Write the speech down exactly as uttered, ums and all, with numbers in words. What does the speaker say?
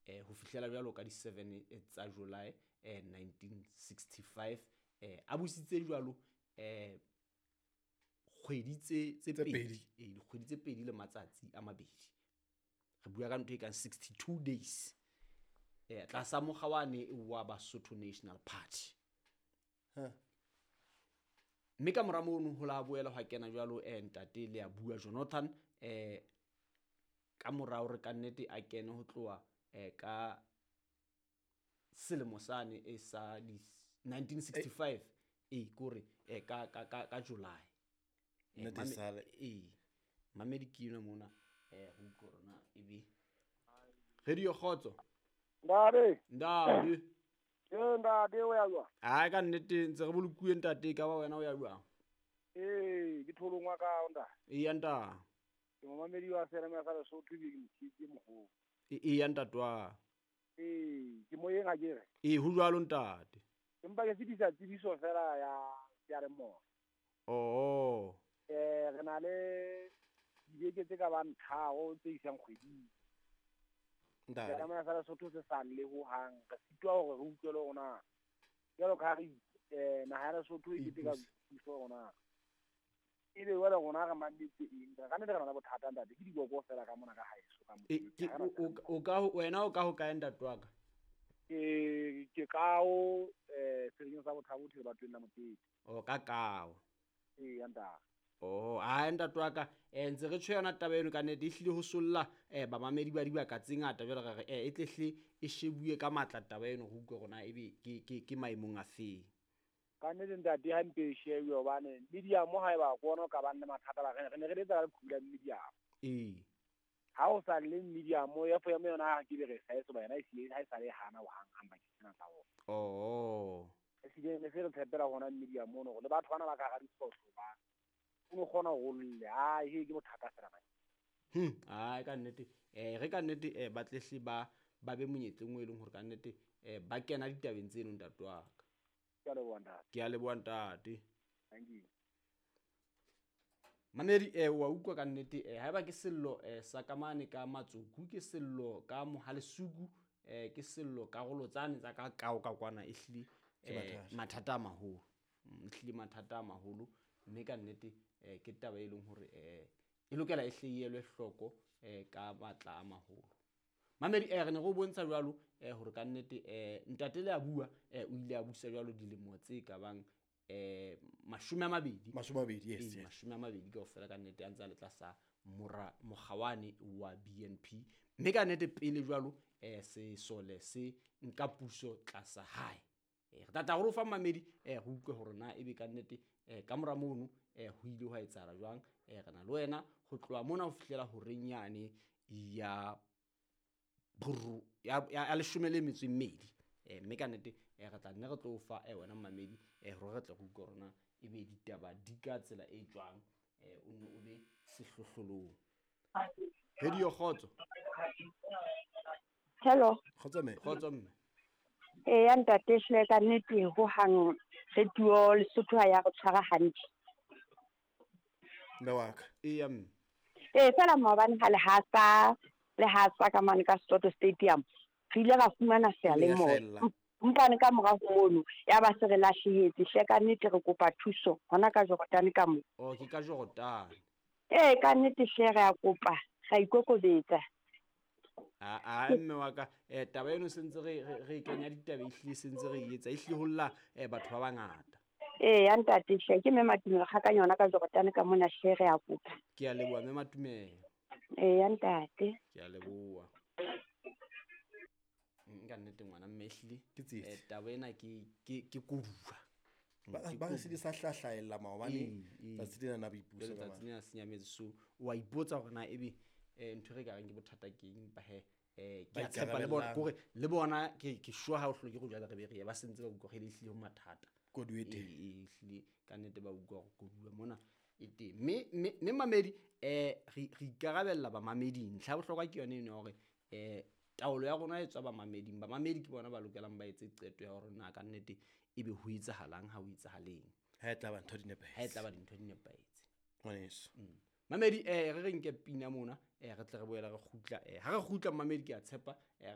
eh ho fihlela jwalo ka di seven tsa July eh nineteen sixty-five eh a busitse jwalo eh kgwedi tse tse pedi eh dikgwedi tse pedi le matsatsi a mabedi re bua ka ntho e kang sixty-two days eh tlasa mokgawane wa Basotho National Party. Ha mme ka mora mono ho la boela hwa kena jwalo eh ntate le a bua Jonathan eh ka mora hore ka nnete a kene ho tloha eh ka selemo sane e sa nineteen sixty-five e kore eh ka ka ka July nnete sale e mamedi ke yona mona eh ho corona e be radio khotso ndade ndade ke ndade o ya jwa ha ka nnete ntse re bolokuwe ntate ka ba wena o ya jwa eh ke tholongwa ka nda e ya nta ke mamedi wa sera me sa Lesotho ke motshitsi mogolo e ya ntatwa eh ke moyeng a kere e ho jwalo ntate empa ke fetisa tsebiso fela ya ya re mo oh eh re na le dibeke tse ka bang tharo tse isang kgweding ntate ya me sa Lesotho se sa le ho hang re sitwa hore re utlwele rona jalo ka re eh naha ya Lesotho e keteka puso rona e be wela rona re mametse eng ka nne re na le bothata ntate ke diboko fela ka mona ka haeso ka mo o ka wena o ka ho kae ntate wa ka ke ke kao eh seleng sa bothabo thele batho la mokete o ka kao e ya ntate oh a ntate wa ka eh ntse re tshwe yona taba eno ka nnete e hlile ho solla eh ba mamedi ba dibaka tse ngata jwale re re eh e tlehle e shebuwe ka matla taba eno ho utlwe rona ebe ke ke ke maemong a feng ka nnete ntate ha mpe shebuwe hobane media mo ha eba kona ka ba nne mathata ba re ne re letsa ka leqhubu la media ee ha o sa le media mo ya fo ya mo yona ke be re sa eso ba yona e siye ha e sa le hana ho hang hang ba ke tsena tsa bona oh e siye ne se re tshepela hona media mo no le batho bana ba ka ga diphoso ba o no kgona ho lle a he ke bothata fela ba hm ai ka nnete eh re ka nnete eh ba tlehle ba ba be monyetleng o e leng hore ka nnete eh ba kena ditabeng tseno ntate wa ka ke a leboha ntate ke a leboha ntate thank you mamedi eh wa utlwa ka nnete eh haeba ke sello eh sa kamane ka matsoku ke sello ka mohalesuku eh ke sello karolo tsane tsa ka kao ka kwana e hlile eh mathata a maholo e hlile mathata a maholo mme ka nnete eh ke taba e leng hore eh e lokela e hleyelwe hloko eh ka matla a maholo mamedi eh re ne go bontsha jwalo eh hore ka nnete eh ntate le a bua eh o ile a busa jwalo dilemo tse ka bang eh mashome a mabedi mashome a mabedi yes yes mashome a mabedi kaofela ka nnete a ntse a le tlasa mora mokgawane wa B N P mme ka nnete pele jwalo eh sesole se nka puso tlasa hae eh re tata go fa mamedi eh go utlwe hore na ebe ka nnete eh ka mora mono eh ho ile hwa etsahala jwang eh re na le wena ho tloha mona ho fihlela horeng yane ya buru ya ya leshome le metso e mmedi eh mme ka nnete eh re tla nne re tlo fa eh wena mamedi eh hore re tle go utlwe rona ebe ditaba di ka tsela e jwang eh o nne o be sehlohlolong radio khotso hello khotso mme khotso mme eh ya ntate hle ka nnete ho hang radio Lesotho ha ya re tshwara hantle mme wa ka e ya mme eh fela maobane ha le hasa le hasa ka mane ka Soto Stadium re ile ra fumana seyalemoya mpane ka mora ho mono ya ba se re lahlehetse hle ka nnete re kopa thuso hona ka Jordan ka mo oh ke ka Jordan eh ka nnete hle re a kopa ra ikokobetsa a a mme wa ka eh taba eno sentse re re kenya ditaba e hlile sentse re etsa e hlile holla eh batho ba bangata eh ya ntate hle ke mme Matumelo ga ka yona ka Jordan ka mona hle re a kopa ke a leboha mme Matumelo eh ya ntate ke a leboha nka nnete ngwana mme hlile ke tsietsi eh taba ena ke ke ke koduwa ba ba se di sa hlahlaella maobane tsatsi lena na boipuso ka tsatsi lena senyametse so wa ipotsa hore na ebe eh ntho re ka reng ke bothata keng ba he eh ke a tshepa le bona kore le bona ke ke sure ha o hloke go jwala re be re ba sentse ba utlwa re hlile ho mathata koduwe teng e hlile ka nnete ba utlwa go koduwa mona e teng mme mme mamedi eh re re ikarabella ba mameding ntlha bohlokwa ke yone eno hore eh taolo ya rona e tswa ba mameding ba mamedi ke bona ba lokelang ba etse qeto ya hore na ka nnete ebe ho etsahalang ha ho etsahaleng ha e tla ba ntho di nepahetse ha e tla ba dintho di nepahetse ngwaneso mamedi eh re re nke pina mona eh re tle re boela re kgutla eh ha re kgutla mamedi ke a tshepa eh